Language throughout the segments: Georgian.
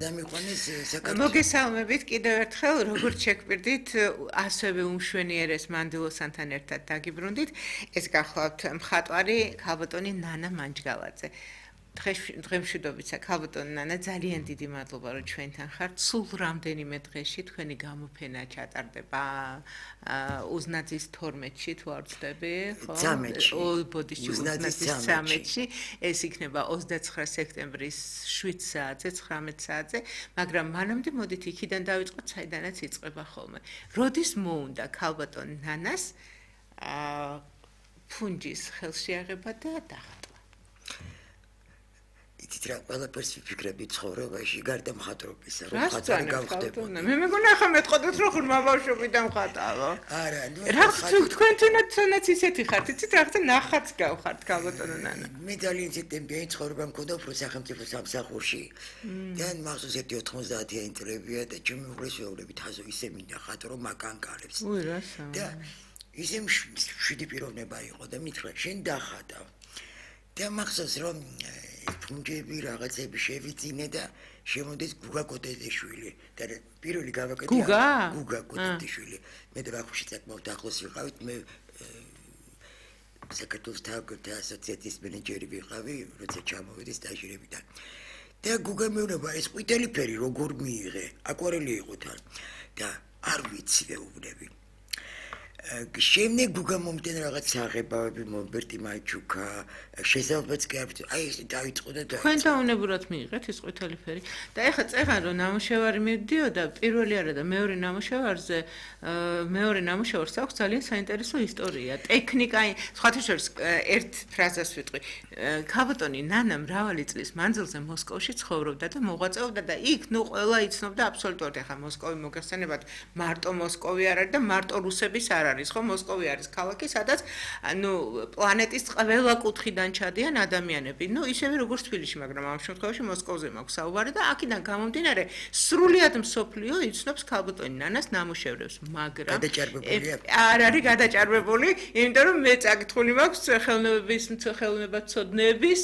დამიყვანეს საქართველოს. მოგესალმებით კიდევ ერთხელ, როგორც შეგპირდით, ასევე უმშვენიერეს მანდილოსანთან ერთად დაგიბრუნდით. ეს გახლავთ მხატვარი ქალბატონი ნანა მანჯგალაძე. დღემშვიდობიცა ქალბატონი ნანა, ძალიან დიდი მადლობა, რომ ჩვენთან ხართ. სულ რამდენიმე დღეში თქვენი გამოფენა ჩატარდება უზნაძის 12-ში, თუ არ ვცდები, ხო? 13-ში. ბოდიში უზნაძის 13-ში. ეს იქნება 29 სექტემბრის 7 საათზე, 19 საათზე, მაგრამ მანამდე მოდით იქიდან დავიწყოთ, საიდანაც იწყება ხოლმე. როდის მოუნდა ქალბატონ ნანას ფუნჯის ხელშეაღება და დახატვა? იცით რა, ყველაფერს ვიფიქრები ცხოვრებაში, გარდა მხატვრობისა, რომ მხატვარი გავხდებოდი. მე მეგონა ახლა მეტყოდეთ, რომ ხურმა ბავშვობიდან მხატარო. არა, ნუ თქვენ თუნდაც ისეთი ხართ, იცით რაღაცა ნახაც გავხართ ქალბატონო ნანა. მე ძალიან ცოტა ცხოვრება მქონდა უფრო სახელმწიფო სამსახურში. და მახსოვს ერთი 90-იანი წლებია და ჩემი უღრესეულები თაზო ისე მინდა ხატრო მაგანკალებს. უი რასა. და ისე მშვიდი პიროვნება იყო და მითხრა, შენ დახატავ. და მახსოვს რომ ფუნჯები რაღაცები შევიწინე და შემოდის გუგა კოტეძეშვილი და პირველი გავაკეთე გუგა კოტეძეშვილი. მე და ბავშვი საკმაოდ ახლოს ვიყავით, მე საქართველოს თავგრძე ასოციაციის მენეჯერი ვიყავი, როცა ჩამოვედი სტაჟირებიდან. და გუგა მეუბნება, ეს ყვითელი ფერი როგორ მიიღე? აკვარელი იყო თან და არ ვიცი ვეუბნები. შემდეგ გუგა მომდენ რაღაც საღებავები მომბერტი მაჩუკა შესაძლებელიც კი არ ვიცი აი ეს დაიწყო და თქვენ დაუნებურად მიიღეთ ეს ყვითელი ფერი და ეხლა წერან რომ ნამუშევარი მივდიოდა პირველი არა და მეორე ნამუშევარზე მეორე ნამუშევარს აქვს ძალიან საინტერესო ისტორია ტექნიკა სხვათა შორის ერთ ფრაზას ვიტყვი ქალბატონი ნანა მრავალი წლის მანძილზე მოსკოვში ცხოვრობდა და მოღვაწეობდა და იქ ნუ ყველა იცნობდა აბსოლუტურად ეხლა მოსკოვი მოგეხსენებათ მარტო მოსკოვი არ არის და მარტო რუსების არ არის ხო მოსკოვი არის ქალაქი სადაც ნუ პლანეტის ყველა კუთხიდან ჩადიან ადამიანები ნუ ისევე როგორც თბილისში მაგრამ ამ შემთხვევაში მოსკოვზე მაქვს საუბარი და აქედან გამომდინარე სრულიად მსოფლიო იცნობს ქალბატონი ნანას ნამუშევრებს მაგრამ არ არის გადაჭარბებული იმიტომ რომ მე წაკითხული მაქვს ხელოვნებაცოდნეების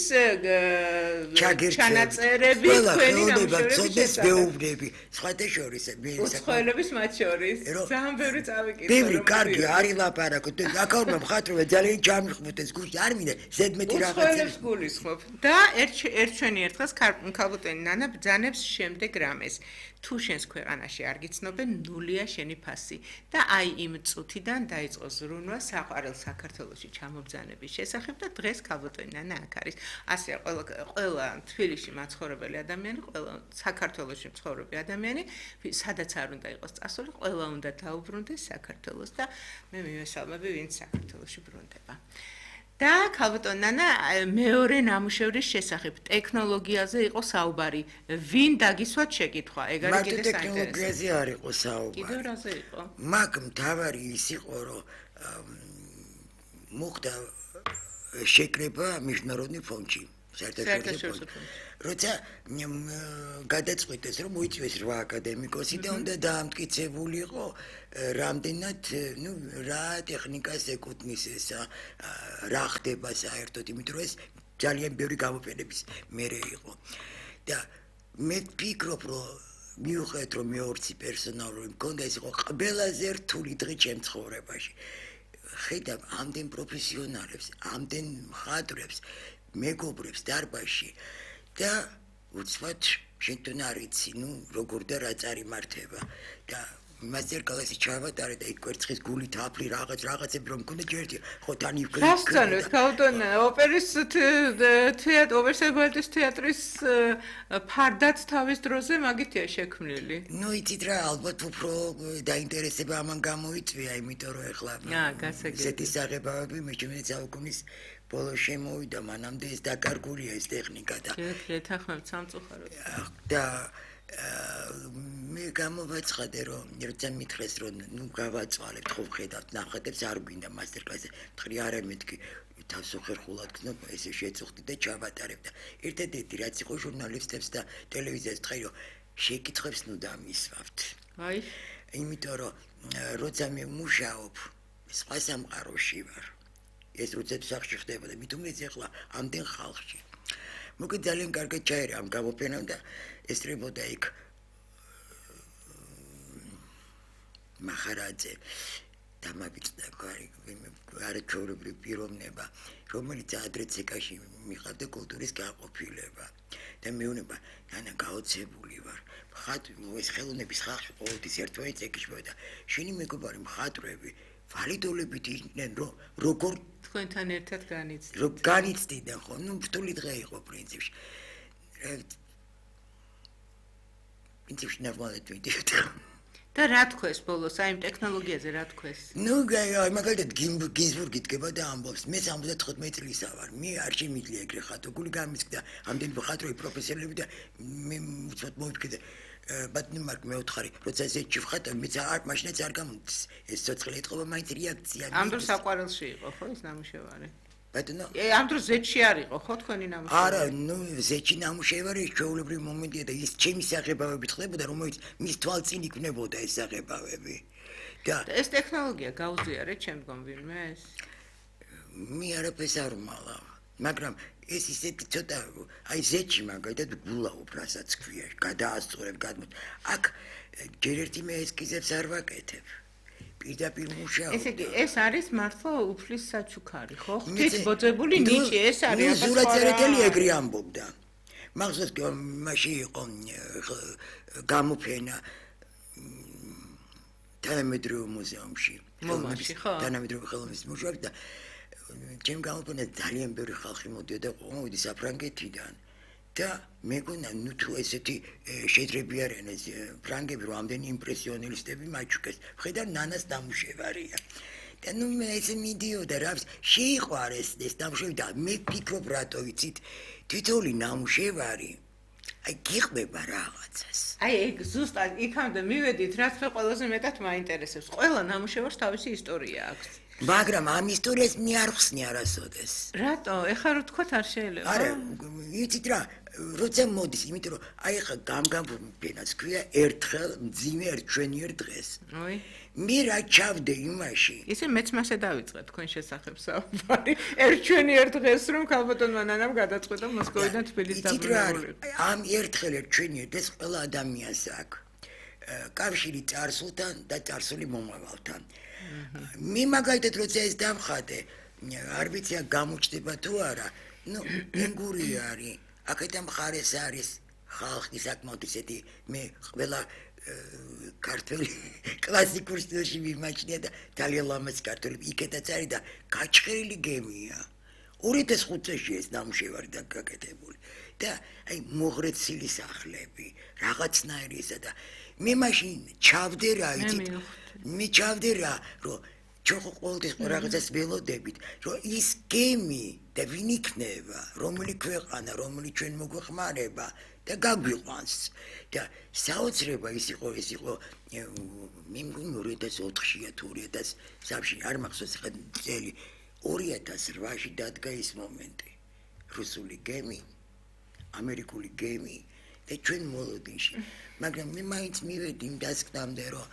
ჩანაწერები თქვენი ნამუშევრების მეუბნები სხვათა შორის უცხოელების მათ შორის ძალიან ბევრი წავიკითხე კარგი არის ლაპარაკო აკაურმა მხატვრობა ძალიან ჩამიხმოთ ეს გულში არ მინდა ზედმეტი რაღაცებს გულისხმობ და ერთჩვენი ერთხელ ქალბატონი ნანა ბძანებს შემდეგ რამეს თუ შენს ქვეყანაში არ გიცნობენ ნულია შენი ფასი და აი იმ წუთიდან დაიწყო ზრუნვა საყვარელ საქართველოში ჩამობძანების შესახებ და დღეს ქალბატონი ნანა აქ არის ასე ყველა თბილისში მაცხოვრებელი ადამიანი ყველა საქართველოში მცხოვრები ადამიანი სადაც არ უნდა იყოს წასული ყველა უნდა დაუბრუნდეს საქართველოს და მე მივესალმები ვინც საქართველოში ბრუნდება და ქალბატონი ნანა მეორე ნამუშევრის შესახებ ტექნოლოგიაზე იყო საუბარი ვინ დაგისვათ შეკითხვა ეგ არის კიდე საინტერესო ტექნოლოგიაზე არ იყო საუბარი კიდევ რაზე იყო მაგ მთავარი ის იყო რომ მოხდა შეკრება международный фондში საერთაშორისო როცა გადაწყვიტეს რომ მოიწვიეს 8 აკადემიკოსი და უნდა დაამტკიცებულიყო რამდენად ნუ რა ტექნიკას ეკუთვნის ესა რა ხდება საერთოდ იმიტომ რომ ეს ძალიან ბევრი გამოფენების მერე იყო და მე ვფიქრობ რომ მიუხედავად რომ მეორცი პერსონალური მქონდა ეს იყო ყველაზე რთული დღე ჩემ ცხოვრებაში ხედავ ამდენ პროფესიონალებს ამდენ მხატვრებს მეგობრებს დარბაზში და უცბად შენ თვითონ არ იცი ნუ როგორ და რა წარიმართება და მასტერკლასი ჩავატარე და იქ კვერცხის გული თაფლი რაღაცები რომ მქონდა ჯერჯერ ხო თან იქ გასწავლეთ ქალბატონ ოპერის თეატრი ოპერსებალტის თეატრის ფარდაც თავის დროზე მაგითია შექმნილი ნუ იცით რა ალბათ უფრო დაინტერესება ამან გამოიწვია იმიტომ რომ ეხლა ესეთი საღებავები მე ჩემი საუკუნის ბოლოს შემოვიდა მანამდე ეს დაკარგულია ეს ტექნიკა და ეთანხმებთ სამწუხაროდ და მე გამოვაცხადე რომ როცა მითხრეს რომ ნუ გავაწვალებთ ხო ხედავთ ნახატებს არ გვინდა მასტერკლასზე თქვი არა მეთქი თავს ხერხულად გქნობ ესე შეწუხდი და ჩავატარებ და ერთადერთი რაც იყო ჟურნალისტებს და ტელევიზიას თქვი რომ შეკითხვებს ნუ დამისვავთ აი იმიტომ რომ როცა მე მუშაობ სხვა სამყაროში ვარ ეს როცა სახში ხდებოდა მით უმეტეს ახლა ამდენ ხალხში მოკლედ ძალიან კარგად ჩაერა ამ გამოფენამ და ესწრებოდა იქ მახარაძე დამაბიჭდა არაჩვეულებრივი პიროვნება, რომელიც ადრე ცეკაში მიყავდა კულტურის გაყოფილება და მეუბნება, ნანა გაოცებული ვარ. ეს ხელოვნების ხალხი ყოველთვის ერთმანეთს ეკიშმოდა. შენი მეგობარი მხატვრები ვალიდოლებით იყვნენ, როგორ თქვენთან ერთად განიცდით. რომ განიცდიდნენ ხო, რთული დღე იყო პრინციპში. პრინციპში ნორმალად ვიდეოდი. და რა თქვეს ბოლოს, აი იმ ტექნოლოგიაზე რა თქვეს? მაგალითად გინზბურგი დგება და ამბობს, მე 75 წლისა ვარ, მე არ შემიძლია ეგრე ხატო, გული გამისკდა ამდენი მხატვრები პროფესიონალები და მე უცბად მოვიფიქრე ბატონო მარკ მე ვთხარი, როცა ესეთი ვხატო, მე მაშინაც არ გამოდის, ეს ცოცხალი ეთყობა მაინც რეაქცია. ამ დროს საყვარელში იყო ხო ის ნამუშევარი? ბატონო ამ დროს ზეთში არ იყო ხო თქვენი ნამუშევარი? არა, ზეთში ნამუშევარი ჩვეულებრივი მომენტია და ის ჩემი საღებავებით ხდებოდა, რომელიც მის თვალწინ იქნებოდა ეს საღებავები. და ეს ტექნოლოგია გაუზიარეთ შემდგომ ვინმეს? მე არაფერს არ ვმალავ, მაგრამ ეს ისეთი ცოტა აი ზეთში მაგალითად გულაობ რასაც ქვია, გადაასწორებ, აქ ჯერ ერთი მე ესკიზებს არ ვაკეთებ. პირდაპირ მუშაობ. ესე იგი, ეს არის მართლა უფლის საჩუქარი, ხო? ღვთის ბოძებული ნიჭი ეს არის. ზურაწერეთელი ეგრე ამბობდა. მახსოვს მაშინ იყო გამოფენა თანამედროვე მუზეუმში. მომაში, ხო? თანამედროვე ხელოვნების მუზეუმში და ჩემ გამოფენას ძალიან ბევრი ხალხი მოდიოდა, მოვიდი საფრანგეთიდან. და მეგონა თუ ესეთი შეძლებიან ეს ფრანგები რომ ამდენი იმპრესიონისტები მაჩუკეს ხედავ ნანას ნამუშევარია და მე ესე მიდიოდა რა შეიყვარეს ეს ნამუშევარი და მე ფიქრობ რატო იცით თითოეული ნამუშევარი აი გიყვება რაღაცას აი ეგ ზუსტად იქამდე მივედით რაც მე ყველაზე მეტად მაინტერესებს ყველა ნამუშევარს თავისი ისტორია აქვს მაგრამ ამ ისტორიას მე არ ხსნი არასოდეს რატო ეხლა რო თქვათ არ შეიძლება არა იცით რა როცა მოდის იმიტომ რომ აი ხა გამგამფენას ქვია ერთხელ მძიმე ერთჩვენიერ დღეს ой მე რა ჩავდე იმაში ისე მეც მასე დავიწყე თქვენ შესახებ საუბარი ერთჩვენიერ დღეს რომ ქალბატონმა ნანამ გადაწყვეტა მოსკოვიდან თბილისს დაბრუნებული ამ ერთხელ ერთჩვენიერ დღეს ყველა ადამიანს აქვს კავშირი წარსულთან და წარსული მომავალთან მე მაგალითად როცა ეს დავხატე არ ვიცი გამოჩნდება თუ არა ნუ ენგური არის აქეთან მხარეს არის ხალხი საკმაოდ ისეთი მე ყველა ქართველი კლასიკურ სტილში მიმაჩნია და ძალიან ლამაზ ქართველი იქეთაც არის და გაჩხერილი გემია 2005 წელს ეს ნამუშევარი დაგაკეთებული და აი მოღრეცილი სახლები რაღაცნაირი ისა და მე მაშინ ჩავდე რა იცით მე ჩავდე რა რომ ჩვენ ყოველთვის რაღაცას ველოდებით რომ ის გემი და ვინ იქნება რომელი ქვეყანა რომელი ჩვენ მოგვეხმარება და გაგვიყვანს და საოცრება ის იყო მე მგონი 2004-ში თუ 2003-ში არ მახსოვს ხა წელი 2008-ში დადგა ის მომენტი რუსული გემი ამერიკული გემი და ჩვენ მოლოდინში მაგრამ მე მაინც მივედი იმ დასკვნამდე რომ